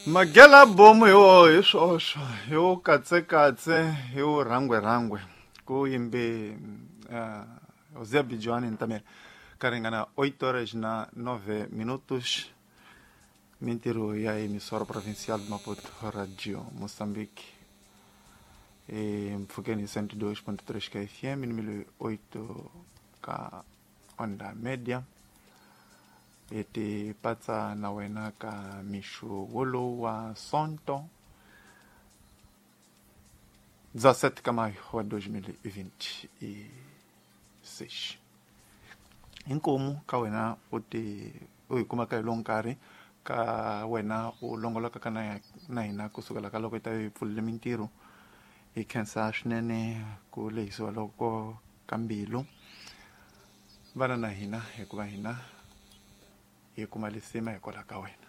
Magela bomu hi wo hi swoxo hi wo katsekatse hi wo rhangwerhangwe ku yimbe José Bijoani Ntamela ka ringana 8 horas na 9 minutos. Mintirho ya emissora provincial de Maputo, Radio Moçambique, mpfhukeni hi 102.3 ka FM ni 8 ka onda media. Hi ti patsa na wena ka mixo wolowu wa Sonto 17 ka maio wa 2026. Inkomu ka wena u ti u hi kumaka hi lowu nkarhi ka wena u longoloka ka na hina kusukela ka loko yi ta yi pfulile mintirho. Hi khensa swinene ku lehisiwa loko ka mbilu vana na hina, hikuva hina hi kuma lisima hikwalaho ka wena.